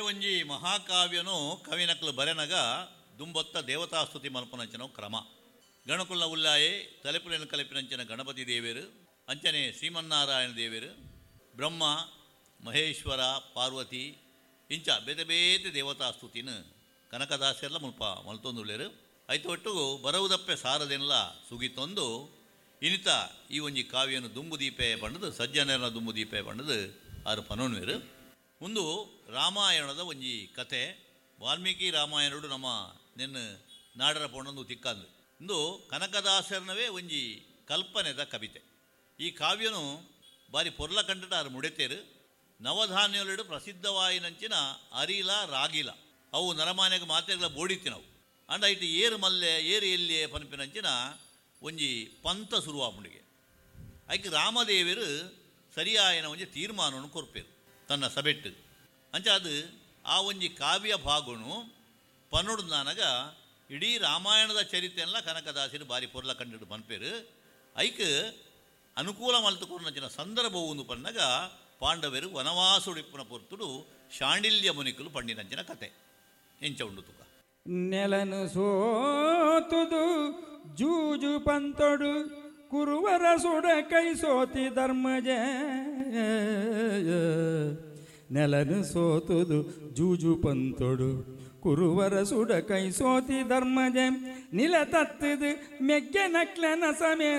ಒಂಜಿ ಮಹಾಕಾವ್ಯನು ಕವಿನಕ್ಲು ಬರೆನಗ ದುಂಬೊತ್ತ ದೇವತಾಸ್ತುತಿ ಮಲ್ಪನಂಚಿನ ಕ್ರಮ. ಗಣಕುಲ್ನ ಉಲ್ಲಾಯೆ ತಲೆಪುಲೆನ ಕಲೆಪಿನಂಚಿನ ಗಣಪತಿ ದೇವೆರು, ಅಂಚನೆ ಶ್ರೀಮನ್ನಾರಾಯಣ ದೇವೆರು, ಬ್ರಹ್ಮ, ಮಹೇಶ್ವರ, ಪಾರ್ವತಿ ಇಂಚ ಬೇತೆ ಬೇತೆ ದೇವತಾಸ್ತುತಿನ ಕನಕದಾಸೆರ್ಲ ಮುಲ್ಪ ಮಲ್ತೊಂದುಲ್ಲೆರು. ಐತ ಒಟ್ಟುಗು ಬರವುದಪ್ಪೆ ಸಾರದೆನ್ಲ ಸುಗಿತೊಂದು ಇನಿತ ಈ ಒಂಜಿ ಕಾವ್ಯನು ದುಂಬುದೀಪೆ ಪಂಡದು, ಸಜ್ಜನರನ ದುಂಬುದೀಪೆ ಪಂಡದು ಆರು ಪನೊನ್ವೆರು. ಉಂದು ರಾಮಾಯಣದ ಒಂಜಿ ಕತೆ. ವಾಲ್ಮೀಕಿ ರಾಮಾಯಣಡು ನಮ್ಮ ನೆನ್ನು ನಾಡರ ಪೊಣ್ಣಂದು ತಿಕ್ಕಂದು. ಇಂದು ಕನಕದಾಸರ್ನವೇ ಒಂಜಿ ಕಲ್ಪನೆದ ಕವಿತೆ. ಈ ಕಾವ್ಯನು ಬಾರಿ ಪೊರ್ಲ ಕಂಡಟ ಆರು ಮುಡೆತೇರು. ನವಧಾನ್ಯಲೆಡು ಪ್ರಸಿದ್ಧವಾಯಿನಂಚಿನ ಅರಿಲ ರಾಗಿಲ ಅವು ನರಮಾನ್ಯಗ ಮಾತೆಗಳ ಬೋಡಿತ್ತಿನವು. ಅಂಡ ಇಟ್ಟು ಏರು ಮಲ್ಲೆ ಏರು ಎಲ್ಲಿಯೇ ಪನ್ಪಿನಂಚಿನ ಒಂಜಿ ಪಂಥ ಶುರುವಾಪುಂಡಿಗೆ. ಐಕ್ ರಾಮದೇವರು ಸರಿಯಾಯನ ಒಂಜಿ ತೀರ್ಮಾನವನ್ನು ಕೊರ್ಪೇರು ತನ್ನ ಸಬೆಟ್ಟು. ಅಂಚ ಅದು ಆ ಒಂಜಿ ಕಾವ್ಯ ಭಾಗನು ಪನ್ನೊಡ್ದಾನಗ ಇಡೀ ರಾಮಾಯಣದ ಚರಿತ್ರೆಲ್ಲ ಕನಕದಾಸರು ಬಾರಿ ಪೊರ್ಲ ಕಂಡಿಡು ಪನ್ಪೇರು. ಐಕ್ ಅನುಕೂಲ ಮಲ್ತುಕೊರ್ನಂಚಿನ ಸಂದರ್ಭ ಒಂದು ಪನ್ನಗ ಪಾಂಡವರು ವನವಾಸುಡಿಪ್ಪುನ ಪೊರ್ತುಡು ಶಾಂಡಿಲ್ಯ ಮುನಿಕುಲು ಪಂಡಿನಂಚಿನ ಕತೆ ಎಂಚ ಉಂಡು ತುಕ. ನೆಲನು ಸೋತುದು ಜೂಜು ಪಂತೊಡು ಕುರುವರ ಸುಡ ಕೈ ಸೋತಿ ಧರ್ಮಜ. ನೆಲನು ಸೋತುದು ಜೂಜು ಪಂತೊಡು ಕುರುವರ ಸುಡ ಕೈ ಸೋತಿ ಧರ್ಮಜ. ನಿಲ ತತ್ತದು ಮೆಗ್ಗೆ ನಕ್ಲನ ಸಮೇತ.